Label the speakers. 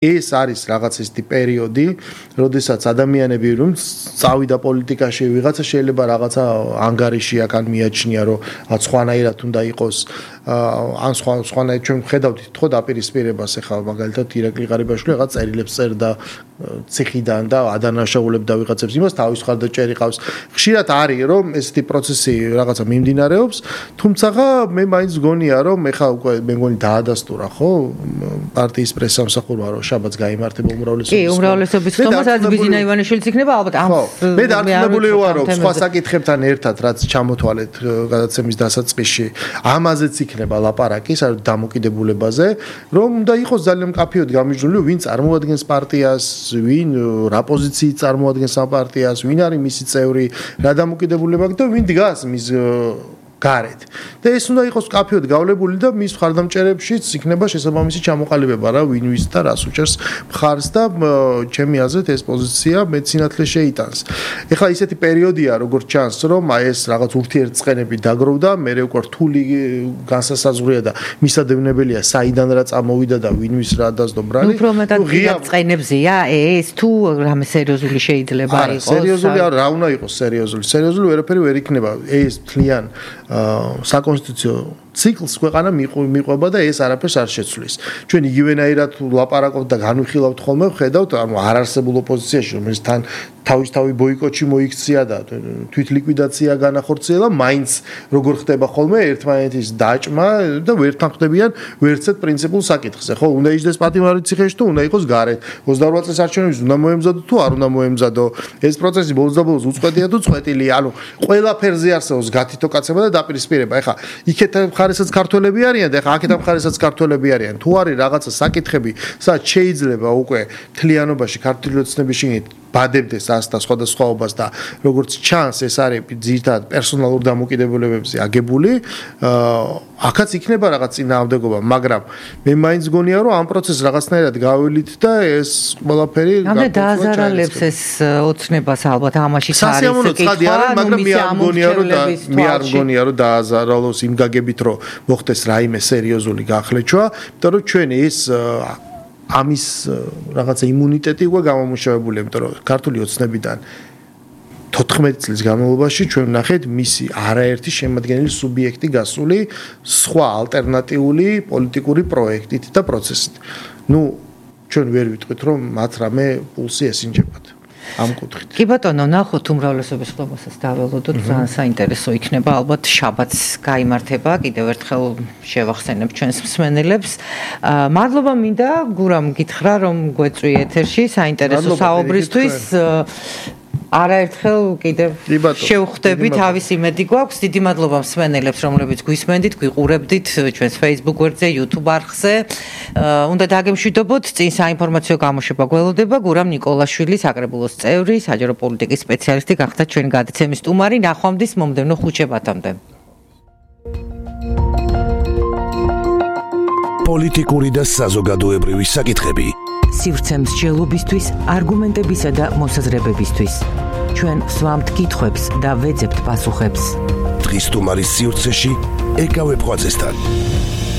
Speaker 1: ეს არის რაღაც ისეთი პერიოდი, როდესაც ადამიანები რომ წავიდა პოლიტიკაში, ვიღაცა შეიძლება რაღაცა ანგარიში აქ მიაჩნია, რომ სხვანაირად უნდა იყოს, ან სხვანაირად ჩვენ ხედავთ თქო დაპირისპირებას, ახლა მაგალითად ირაკლი ღარიბაშვილი რაღაც წერილებს წერდა ციხიდან და ადანაშაულებდა ვიღაცებს იმას, თავის მხარდაჭერი ყავს. ხშირად არის რომ ესეთი პროცესი რაღაცა მიმდინარეობს, თუმცა მე მაინც გონია რომ ეხლა უკვე მე მგონი დაადასტურა ხო პარტიის პრესსამსახურმა რომ შაბათს გაიმართება უმრავლესობის.
Speaker 2: კი, უმრავლესობის ხომასაც ბიზინა ივანიშვილიც იქნება ალბათ ამ.
Speaker 1: მე დარწმუნებული ვარ რომ სხვა საკითხებთან ერთად რაც ჩამოთვალეთ გადაცემის დასაწყისში, ამაზეც იქნება ლაპარაკი, საერთოდ დამოკიდებულებაზე, რომ უნდა იყოს ძალიან მკაფიოდ გამიჯნული, ვინ წარმოადგენს პარტიას, ვინ რა პოზიციით წარმოადგენს ამ პარტიას, ვინ არის მისი წევრი, რა დამოკიდებულება აქვს და ვინ დგას მის გარეთ. და ეს უნდა იყოს კაფეოდ გავლებული და მის მხარდამჭერებშიც იქნება შესაბამისი ჩამოყალიბება რა ვინ ვის და რას უჭერს მხარს და ჩემი აზრით ეს პოზიცია მეც სინათლე შეიტანს. ეხლა ისეთი პერიოდია როგორც ჩანს რომ ეს რაღაც ურთიერთწყენები დაგროვდა, მე უკვე რთული განსასაზღვრია და მისადევნებელია საიდან რა წამოვიდა და ვინ ვის რა დასდო ბრალი.
Speaker 2: უფრო მეტად წყენებზია ეს თუ რამე სერიოზული შეიძლება იყოს.
Speaker 1: სერიოზული რა უნდა იყოს სერიოზული. სერიოზული ვერაფერი ვერ იქნება. ეს თლიან საკონსტიტუციო ციკლს ქვეყანა მიყვება და ეს არაფერს არ შეცვლის. ჩვენ იგივენაირად ლაპარაკობთ და განვიხილავთ ხოლმე, ხედავთ, ანუ არარსებულ ოპოზიციაში, რომელიც თან თავისთავი ბოიკოტში მოიქცია და თვითლიკვიდაცია განახორციელა, მაინც როგორ ხდება ხოლმე ერთმანეთის დაჭმა და ვერ თანხმდებიან ვერცეთ პრინციპულ საკითხზე. ხო, უნდა იჯდეს პატიმარი ციხეში თუ უნდა იყოს გარეთ. 28 წლის არჩევნებს უნდა მოემზადო თუ არ უნდა მოემზადო. ეს პროცესი ბოლოს და ბოლოს უწყვეტია თუ წყვეტილია. ანუ ყველაფერზე არსებობს გათითო კაცება და დაპირისპირება. ეხლა იქეთ მხარესაც ქართველები არიან და ეხლა აქეთ მხარესაც ქართველები არიან. თუ არის რაღაცა საკითხები, სადაც შეიძლება უკვე თლიანობაში ქართული ოცნების შიგნით ბადებდეს ას და სხვადასხვაობას და როგორც ჩანს ეს არის ძირითადად პერსონალურ დამოკიდებულებებზე აგებული, აქაც იქნება რაღაც წინააღმდეგობა, მაგრამ მე მაინც გონია რომ ამ პროცესს რაღაცნაირად გავივლით და ეს ყველაფერი
Speaker 2: დააზარალებს ეს ოცნებას ალბათ ამაში არის
Speaker 1: სასიამოვნო ცხადი არის, მაგრამ მე არ მგონია რომ დააზარალოს იმ გაგებით რომ მოხდეს რაიმე სერიოზული გახლეჩვა, იმიტომ რომ ჩვენ ეს ამის რაღაცა იმუნიტეტი უკვე გამომუშავებული, იმიტომ რომ ქართული ოცნებიდან 14 წლის განმავლობაში ჩვენ ვნახეთ მისი არაერთი შემადგენელი სუბიექტი გასული სხვა ალტერნატიული პოლიტიკური პროექტით და პროცესით. ჩვენ ვერ ვიტყვით რომ მათ რამე პულსი ესინჯებათ. ამ კუთხით.
Speaker 2: კი ბატონო, ნახოთ უმრავლესობის ხმასაც დაველოდოთ, ძალიან საინტერესო იქნება, ალბათ შაბათს გაიმართება, კიდევ ერთხელ შევახსენებ ჩვენს მსმენელებს. მადლობა მინდა გურამ გითხრა რომ გვეწვი ეთერში საინტერესო საუბრისთვის. არაერთხელ კიდევ შევხვდები, თავის იმედი გვაქვს. დიდი მადლობა მსმენელებს, რომლებიც გვისმენდით, გვიყურებდით ჩვენს Facebook გვერდზე, YouTube არხზე. უნდა დაგემშვიდობოთ, წინ საინფორმაციო გამოშვება გველოდება. გურამ ნიკოლაშვილი, საკრებულოს წევრი, საჯარო პოლიტიკის სპეციალისტი გახდა ჩვენი გადაცემის სტუმარი. ნახვამდის მომდევნო ხუთშაბათამდე.
Speaker 3: პოლიტიკური და საზოგადოებრივი საკითხები.
Speaker 2: სივრცე მსჯელობისთვის, არგუმენტებისა და მოსაზრებებისთვის. ჩვენ ვსვამთ კითხვებს და ვეძებთ პასუხებს.
Speaker 3: დღის სტუმარის სივრცეში ეკავ ეპხვაძესთან.